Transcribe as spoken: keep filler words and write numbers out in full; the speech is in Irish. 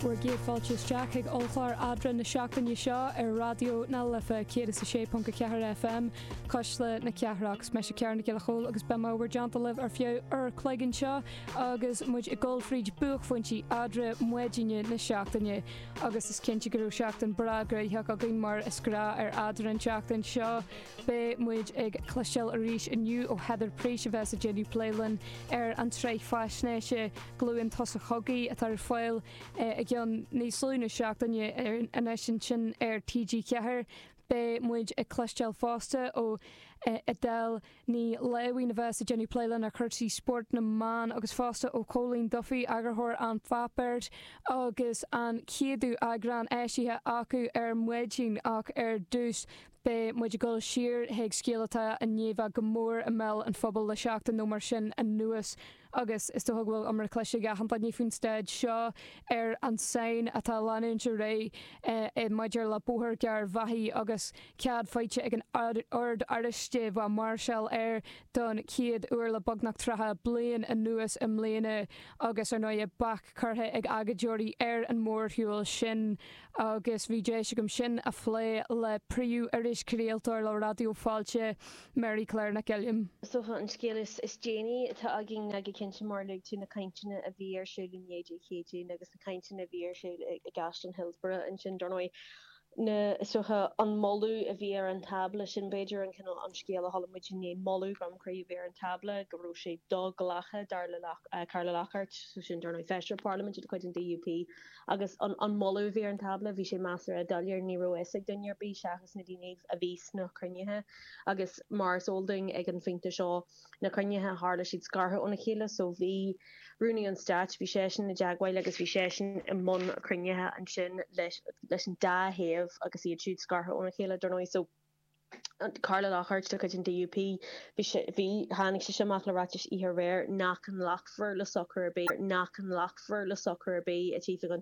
Bhur gcéad fáilte isteach ag ollchlár Eadra na seachtaine seo ar Raidió na Life céad is a sé ponc a ceathair FM Cuisle na Cathrach is mise Ciara Nic Giolla Chóill agus beidh mé i bhur dteannta libh ar feadh uair an chloig anseo agus muid ag dul fríd buaicphointí eadra maidine na seachtaine agus is cinnte go raibh seachtain breá gnoitheach againn mar is gnách ar Eadra an tseachtain seo. Beidh muid ag cloisteáil arís inniu ó Heather Priest a bheas ag déanamh plé linn ar an tsraith faisnéise Glúin Tusa Chogaidh atá ar fáil i gceann níos lú ná seachtaine anois ansin ar TG Ceathair. Beidh muid ag cloisteáil fosta ó Edel Ní Láimhín a bheas ag déanamh plé linn ar chúrsaí spóirt na mban agus fosta ó Chóilín Duffy eagarthóir An Pháipéar agus an chéadú eagrán eisithe acu ar maidin ach ar dtús beidh muid ag dul siar chuig scéal atá i ndiaidh bheith go mór i mbéal an phobail le seachtain nó mar sin anuas agus is dócha go bhfuil iomra cloiste ag achan duine faoin staid seo ar an tsáinn atá ag leanúint ar aghaidh maidir le Bóthar Gharbhachaidh agus cead faighte ag an Ord Oráiste bheith máirseáil air don chéad uair le beagnach tríocha bliain anuas i mbliana agus ar ndóigh bac curtha ag agóideoirí ar an mórshiúl sin agus bhí deis agam sin a phlé le príomh-irischraoltóir le Raidió Fáilte Mary Claire Nic Uilliam. So an scéal is, is déanaí atá againn ná go cinnte mar luaigh tú na cainteanna a bhí ar siúl inné Dé Céadaoin agus na cainteanna a bhí ar siúl i gCaisleán Hillsborough ansin dar ndóigh na socha an moladh a bhí ar an tábla sin b'fhéidir an cineál an scéal a chuala muid inné moladh Gromcroí a bhí ar an tábla go raibh sé do-ghlactha dar le uh, Carla Lockhart so sin dar ndóigh Feisire Parlaiminte de chuid an DUP agus an, an moladh a bhí ar an tábla bhí sé measartha doiléir ní raibh fhios ag duine ar bith seachas na daoine a bhí sna cruinnithe agus mar is eol dúinn ag an phointe seo na cruinnithe tharla siad scartha óna chéile so bhí rúnaí an stáit bhí seisean i dteagmháil agus bhí seisean i mbun cruinnithe ansin leis leis an dá thaobh agus iad siúd scartha óna chéile dar ndóigh so Carla Lockhart de chuid an DUP bhí bhí tháinig sé amach le ráiteas oíche aréir nach nglacfar le socrú ar bith nach nglacfar le socrú ar bith a tífidh an